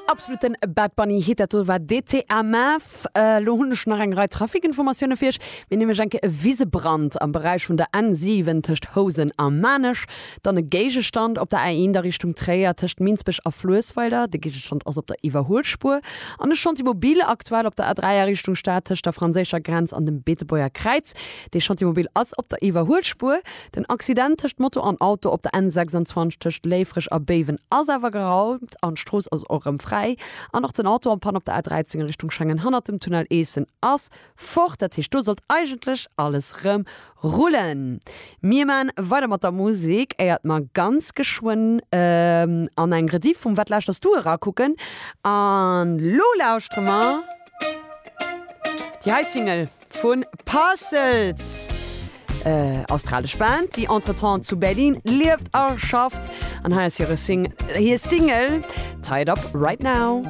Absoluten Bad Bunny Hit, dat do war DTMF. Elo hunn ech nach eng Rei Trafikinformatioune fir iech. Mir nämlech eng Kéier e Wisebrand am Beräich vun der N7 tëscht Housen a Maarnech, dann e Géigestand op der A1 a Richtung Tréier tëscht Minsbech a Fluessweiler, de Géigestand ass op der Iwwerhuelspuer, an e Chantier mobile aktuell op der A3 a Richtung Stad tëscht der franséischer Grenz an dem Beetebuerger Kräiz. Dee Chantier mobile ass op der Iwwerhuelspuer. Den Accident tëscht Moto an Auto op der N26 tëscht Léifreg a Béiwen ass awer geraumt an d'Strooss ass och erëm fräi. An och den Auto en panne op der A13 a Richtung Schengen hannert dem Tunnel Eessen ass fort. Dat heescht do sollt eigentlech alles rëm rullen. Mir maan weider mat der Musek éiert mer ganz geschwënn an eng Rediff vum Wat lauschters du erakucken. An lo lauschtere mer déi hei Single. Vu Parcels, australesch Band, déi entretemps zu Berlin lieft a schafft. An hei ass hire Single Tied Up Right Now.